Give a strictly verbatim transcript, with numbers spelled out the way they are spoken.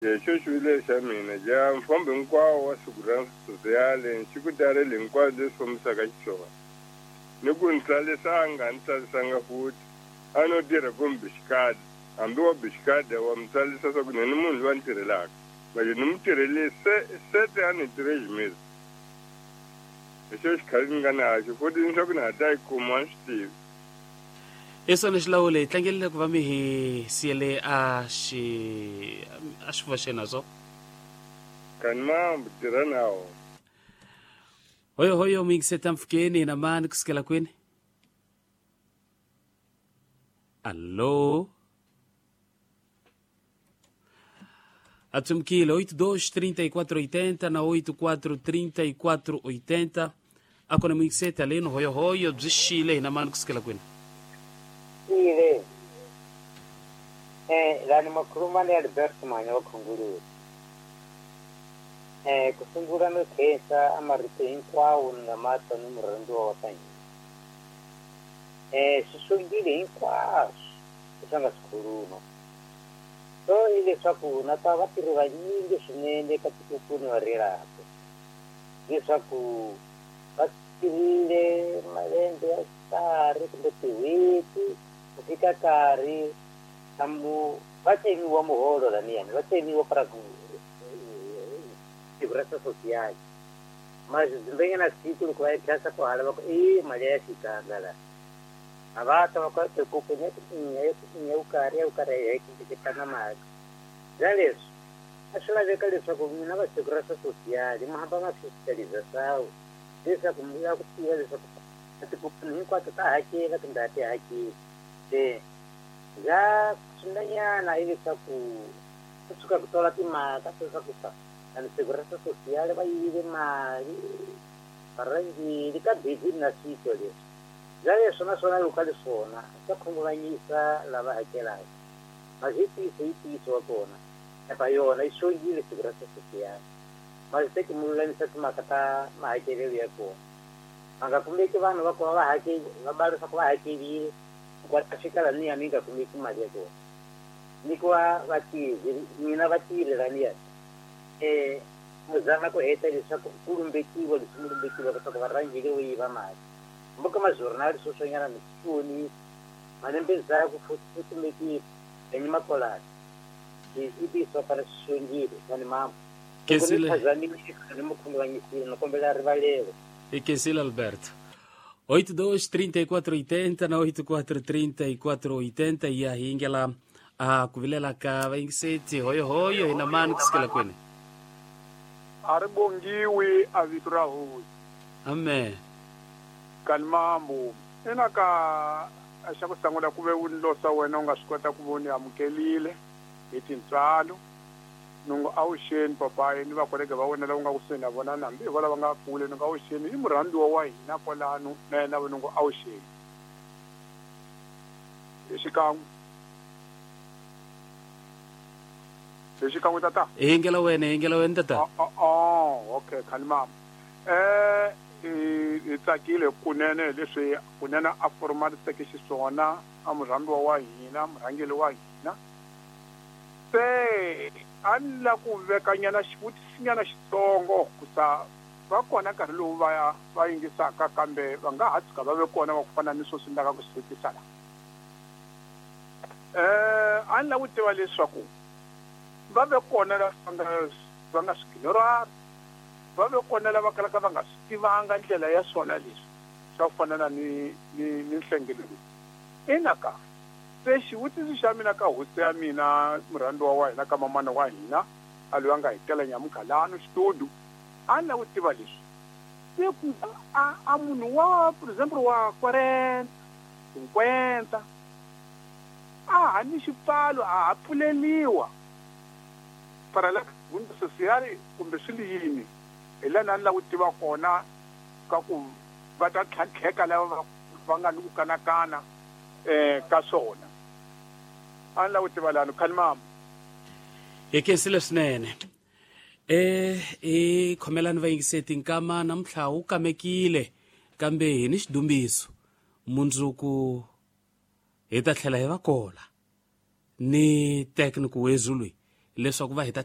Xo xivilelo xa mina ja mfambo hinkwawo wa Segurança Social xi ku talele hinkwaswo leswi fambisaka xiswona. Ni ku ni tsalisanga a ni tsalisanga futhi a no tirha kumbe xikada hambi wa bixikada wa mi tsalisa swa ku ni ni munhu loyi a ni tirhelaka manje ni mu tirhele se sete a ni três meses. Hi xo xikhale ni nga naxo futhi ni swa ku ni ha ta yi kuma a ni swi tivi. Hi swona xilawule hi tlangelile ku va mi hi siyele a xi a xi voxena so. Kani mambo tirha nawo. Hoyo hoyo muyingiseta mpfhukeni na mani kusukela kwini? Alô? Atsumkile oito dois trinta e quatro oitenta na oito quatro trinta e quatro oitenta akona muyingiseta leno hoyo hoyo byi xile hina mani kusukela kwini? Ile eh lani makhuluma ni Alberto Manya wa Khunguluwe. Eh ku sungula no khensa a marito hinkwawo ni nga ma twa ni murhandziwa wa ka hina. Eh swi sungile hinkwaswo leswi a nga swi khuluma. So hileswaku na ta vatirhi vanyingi swinene ka tikokweni va rilaka leswaku va tirhile malembe ya karhi kumbe tin'hweti ku fika nkarhi mu va tsemiwa muholo laniyani va tsemiwa para Segurança Social mas na siku loko va ya khensa ku hala va ku i mali ya xikanga la a va ta va ku ya karhi ya karhi ya tlanga mali bya leswi a swi laveka leswaku n'wina va Segurança Social mi hamba ma fiscalização leswaku mi ya ku tiva leswaku tikopeni hinkwato ta hakela kumbe a ti hakeli se bya swin'wanyana hileswaku ku tshuka ku tola timhaka leswaku ani Segurança Social va yivile mali varhangeri ka busy na swito leswi bya leswi naswona loko ka leswona swa khunguvanyisa lava hakelaka mas hi ntiyiso hi ntiyiso wa kona epa yona yi xongile Segurança Social mas teki mi lulamisa timhaka ta mahakelelo ya kona va nga kumeki vanhu va kuma va hakeli va ba leswaku va hakerile ku ta fika laniya mi nga kumeki mali ya kona nyikiwa vatirhi n'wina vatirhi laniya eh mu zama ku heta leswaku ku lumbekiwa leswi mi lumbekiwa leswaku varhangeri vo yiva mali mboka majournal sweswinyana mi swi vonile malembe ndzhaku futhi ku kumekile enye makolani i ntiyiso wa fana swi xongile kani mama loko ni Khensile. phazamile ni mu khunguvanyisile ni kombela rivalelo E Kensile Alberto. oito dois trinta e quatro oitenta na oito quatro trinta e quatro oitenta ya hi yingela a ku vilela ka vayingiseti hoyo hoyo hina mani kusukela kwini? A ri bongiwi a vito ra hosi. Amen. Kani mambo ina ka xa ku sungula ku ve u ni losa wena u nga swi kota ku va u ni amukelile hi tintswalo nungu awuxeni papayi ni vakolege va wena lava nga kusuhi na vona na hambi hi va lava nga kule ni nga awuxeni i murhandziwa wa hina kwalano na yena va nungu awuxeni hi xikan'we hi xikan'we tata. Hi yingela wena hi yingela wena tata. Oh, oh, okay khani mama eh hi tsakile kunene leswi kunene a formaliseke xiswona a murhandziwa wa hina murhangeri wa hina se a ni la ku vekanyana xivutisinyana xitsongo ku sa va kona nkarhi lowu va va yingisaka kambe va nga ha tshuka va ve kona wa ku fana ni sweswi ni lavaka ku swi vutisa la eh a ni lava ku tiva leswaku va ve kona lava nga va nga swi ignorara va ve kona lava kalaka va nga swi tivanga ndlela ya swona leswi swa ku fana na ni ni ni nhlengelo ina ka se xivutiso xa mina ka hosi ya mina murhandziwa wa hina ka mamana wa hina a loyi a nga hi tela nyamukhalano xitudu a ni lava ku tiva leswi se ku a a munhu wa for example wa quarenta cinquenta a ha ni xipfalo a ha pfuleliwa para la bunda social kumbe swi li yini hi laha ni lava ku tiva kona ka ku va ta tlhantlheka lava va va nga ni ku kanakana eh ka swona a ni lava ku tiva lano khani mama. Hi khensile swinene e i khomelani vayingiseti nkama namuntlha wu kamekile kambe hi ni xidumbiso mundzuku hi ta tlhela hi va kola ni tekniku wezulu leswaku va hi ta